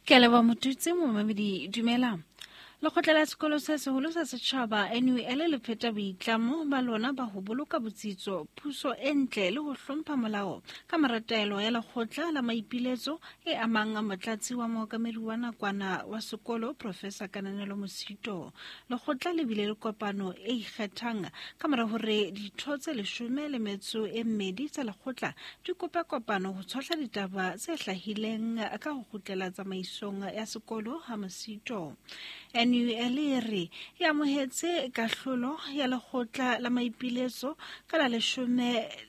Ke a leboha Motutsi, momamedi dumela. Lekgotla la sekolo se seholo sa setjhaba NUL le pheta boitlamo ba lona ba ho boloka botsitso, puso e ntle le ho hlompha molao ka mora taelo ya lekgotla la maipiletso e amang motlatsi wa mookamedi wa nakwana wa sekolo Professor Kananelo Mosito. Lekgotla le bile le kopano e ikgethang ka mora hore ditho tse 12 tsa lekgotla di kope kopano ho tshohla ditaba tse hlahileng ka ho kgutlela tsamaisong ya sekolo ha Mosito. NUL e re e amohetse kahlolo ya lekgotla la maipiletso ka la 14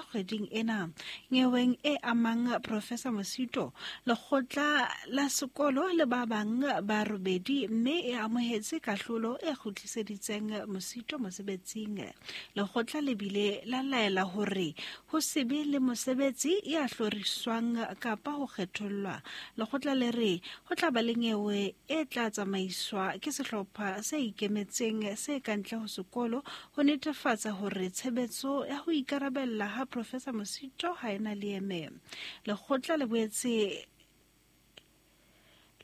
kgweding ena. Nyeweng e amang Professor Mosito, lekgotla la sekolo le ba bang ba 8 mme e amohetse kahlolo e kgutliseditseng Mosito mosebetsing. Lekgotla le bile la laela hore ho se be le mosebetsi ya hloriswang kapa ho kgethollwa. Lekgotla le re ho tla ba le nyewe e tla tsamaiswa ke sehlopha se ikemetseng se kantle ho sekolo ho netefatsa hore tshebetso ya ho ikarabella ha Professor Mosito ha ena leeme. Lekgotla le boetse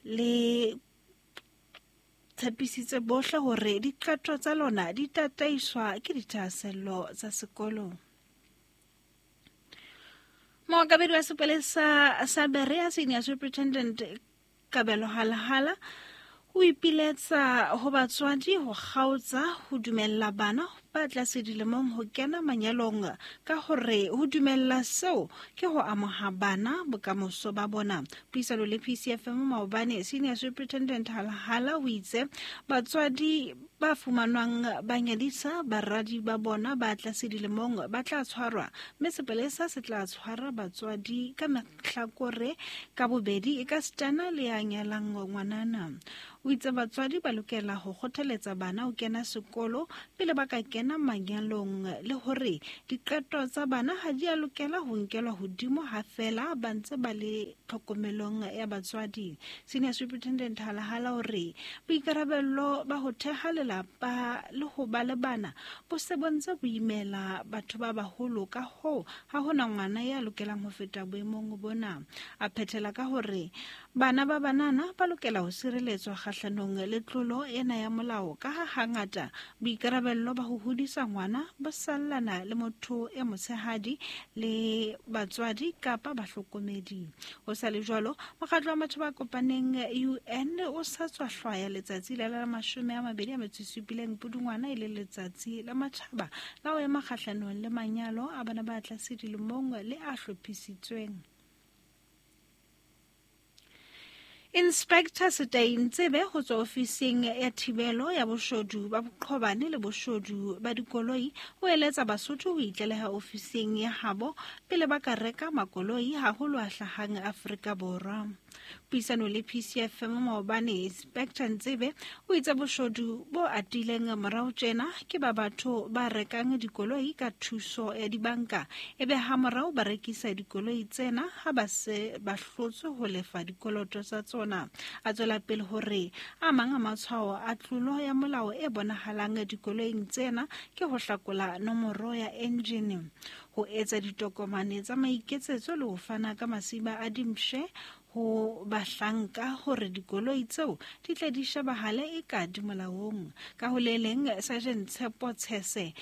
le tshepisitse bohle hore diqeto tsa lona di tataiswa ke dithahasello tsa sekolo. Mookamedi wa sepolesa sa Berea, Senior Superintendent Kabelo Halahala, o ipiletsa ho batswadi ho kgaotsa ho dumella bana ba tlase dilemong ho kena manyalong ka hore ho dumella seo ke ho amoha bana bokamoso ba bona. Puisano le PCFM maobane, Senior Superintendent Halahala o itse batswadi ba fumanwang ba nyadisa baradi ba bona ba tlase dilemong ba tla tshwarwa, mme sepolesa se tla tshwara batswadi ka mehlakore ka bobedi e ka sitana le ya nyalang ngwanana. O itse batswadi ba lokela ho kgothaletsa bana ho kena sekolo pele ba ka kena manyalong le hore diqeto tsa bana ha di a lokela ho nkelwa hodimo ha fela ba ntse ba le tlhokomelong ya batswadi. Senior Superintendent Halahala o re boikarabello ba ho theha lelapa le ho ba le bana bo se bo ntse bo imela batho ba baholo, ka hoo ha hona ngwana ya lokelang ho feta boemong bona. A phethela ka hore bana ba banana ba lokela ho sireletswa kgahlanong le tlolo ena ya molao ka ha hangata boikarabello ba ho hodisa ngwana bo sallana le motho e motshehadi le batswadi kapa bahlokomedi. Ho sa le jwalo, mokgatlo wa batho ba kopaneng UN o sa tswa hlwaya letsatsi la 27 Pudungwana e le letsatsi la matjhaba la ho ema kgahlanong le manyalo a bana ba tlase dilemong le a hlophisitsweng. Inspector Setai Ntsebe ho tswa ofising ya thibelo ya boshodu ba boqhobane le boshodu ba dikoloi o eletsa Basotho ho itlaleha ofising ya habo pele ba ka reka makoloi haholo a hlahang Afrika Borwa. Puisano le PCFM maobane, Inspector Ntsebe o itse boshodu bo atileng morao tjena ke ba batho ba rekang dikoloi ka thuso ya dibanka ebe ha morao ba rekisa dikoloi tsena ha ba se ba hlotswe ho lefa dikoloto tsa tsona. A tswela pele hore a mang a matshwao a tlolo ya molao e bonahalang dikoloing tsena ke ho hlakola nomoro ya engine, ho etsa ditokomane tsa maiketsetso le ho fana ka masiba a dimpshe ho bahlanka hore dikoloi tseo di tle di shebahale e ka di molaong. Ka ho le leng, Sergeant Tshepo Tshese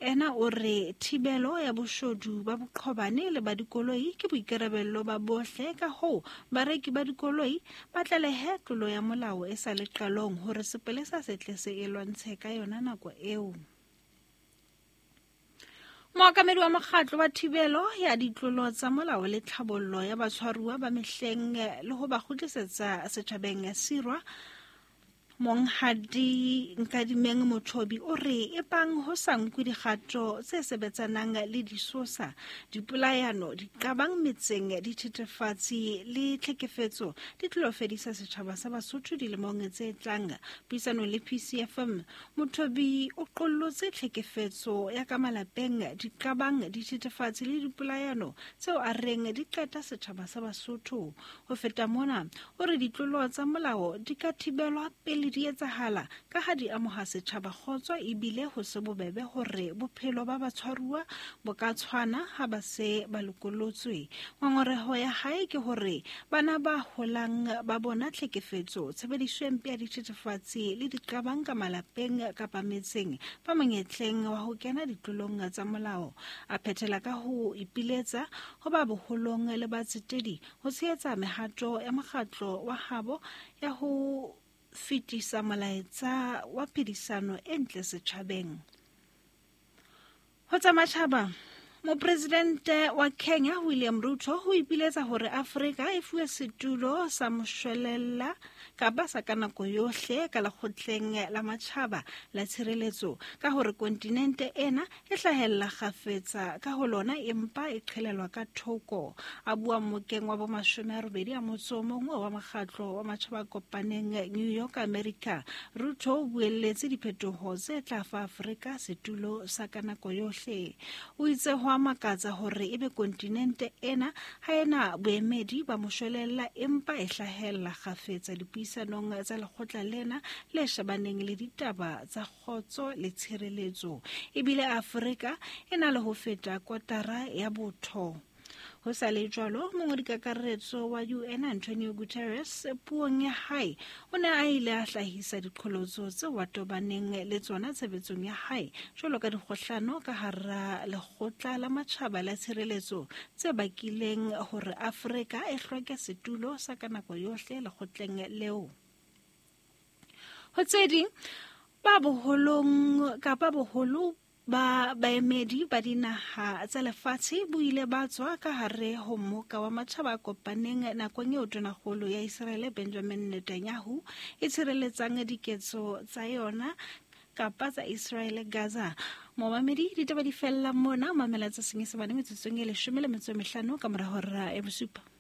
ena o re thibelo ya boshodu ba boqhobane le ba dikoloi ke boikarabello ba bohle, ka hoo bareki ba dikoloi ba tlalehe tlolo ya molao e sa le qalong hore sepolesa se tle se e lwantshe ka yona nako eo. Mookamedi wa mokgatlo wa thibelo ya ditlolo tsa molao le tlhabollo ya batshwaruwa ba mehleng le ho ba kgutlisetsa setjhabeng Sirwa, Monghadi Nkadimeng Mothobi o re ebang ho sa nkwe dikgato tse sebetsanang le disosa, dipolayano, diqabang metseng, dithethefatsi le tlhekefetso di tlo fedisa setjhaba sa Basotho dilemong tse tlang. Puisanong le PCFM, Mothobi o qollotse tlhekefetso ya ka malapeng, diqabang, dithethefatsi le dipolayano tseo a reng di qeta setjhaba sa Basotho. Ho feta mona, o re ditlolo tsa molao di ka thibelwa pele pele di etsahala ka ha di amoha setjhaba kgotso ebile ho se bobebe hore bophelo ba batshwaruwa bo ka tshwana ha ba se ba lokolotswe. Ngongoreho ya hae ke hore bana ba holang ba bona tlhekefetso, tshebediso e mpe ya dithethefatsi le diqabang ka malapeng kapa metseng ba monyetleng wa ho kena ditlolong tsa molao. A phethela ka ho ipiletsa ho ba boholong le batsetedi ho tshehetsa mehato ya mokgatlo wa habo ya ho fetisa molaetsa wa phedisano e ntle setjhabeng. Ho tsa matjhaba, Mopresidente wa Kenya William Ruto o ipiletsa hore Afrika e fuwe setulo sa moshwelella kapa sa ka nako yohle ka lekgotleng la matjhaba la tshireletso ka hore kontinente ena e hlahella kgafetsa ka ho lona empa e qhelelwa ka thoko. A bua mmokeng wa bomashome a robedi a motso o mong wa mokgatlo wa matjhaba a kopaneng New York, America, Ruto o buelletse diphetoho tse tla fa Afrika setulo sa ka nako yohle. O itse ho a makatsa hore ebe kontinente ena ha ena boemedi ba moshwelella empa e hlahella kgafetsa dipuisanong tsa lekgotla lena le shebaneng le ditaba tsa kgotso le tshireletso. Ebile Afrika e na le ho feta kotara ya botho. Ho sa le jwalo, mongwadikakaretso wa UN Antonio Guterres puong ya hae o ne a ile a hlahisa diqholotso tseo a tobaneng le tsona tshebetsong ya hae jwalo ka dikgohlano ka hara lekgotla la matjhaba la tshireletso tse bakileng hore Afrika e hloke setulo sa ka nako yohle lekgotleng leo. Ho tse ding, ba boholong kapa boholo ba baemedi ba dinaha tsa lefatshe bo ile ba tswa ka hare ho mmoka wa matjhaba a kopaneng nakong eo tonakgolo ya Iseraele Benjamin Netanyahu e tshireletsang diketso tsa yona kapa tsa Iseraele Gaza. Momamedi, ditaba di fella mona, mamela tsa Senyesemane metsotsong e 15 ka mora hora ya bosupa.